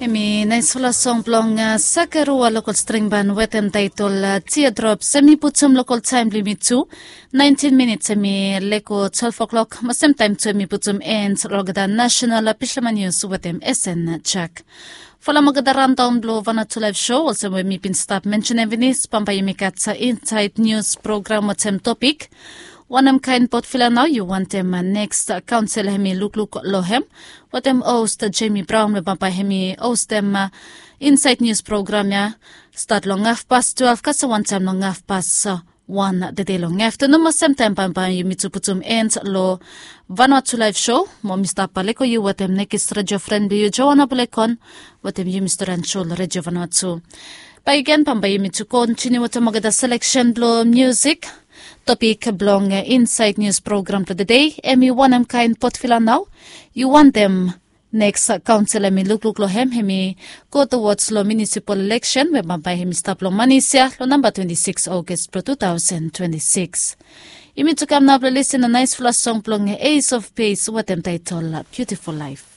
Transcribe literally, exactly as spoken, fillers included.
Hemi naisfala song blong Sakarua lokol string ban wetem taitol Teardrops. Hemi putum lokol taem blong yumi tu, naentin minits hemi lego twelef o'klok. Mo semtaem tu hemi putum en long olgeta nasenal Bislama Nius wetem Esen Jak. Folem olgeta raondaon blong Vanuatu Laef Sou olsem we mi bin stap mensenem finis, bambae yumi gat Insaed Nius program wetem topik wanem kaen potvila nao yu wantem neks kaonsel hemi lukluk long hem, wetem host Jemi Braon we bambae hemi hostem Insaed Nius program ya stat long hafpas twelef kasem wantaem long hafpas wan tede long aftanun. Mo semtaem bambae yumi tu putum en long Vanuatu Laef Sou. Mo mi stap lego yu wetem nekis redio fren blong yu, Joana Bulekon, wetem yumi storian sou long Redio Vanuatu. Bakegen bambae yumi tu kontiniu wetem olgeta seleksen blong miusik. Topik blong Insaed Nius program blong tede hemi wanem kaen potvila nao yu wantem neks kaonsel hemi lukluk long hem. Hemi go towards long munisipal ileksen we bambae hemi stap long manis ya long namba twenti sikis August blong tu taosen twenti sikis. Yumi tu kam nao blong lisin long naesfala song blong Ace of Base wetem taetol Biutiful Laef.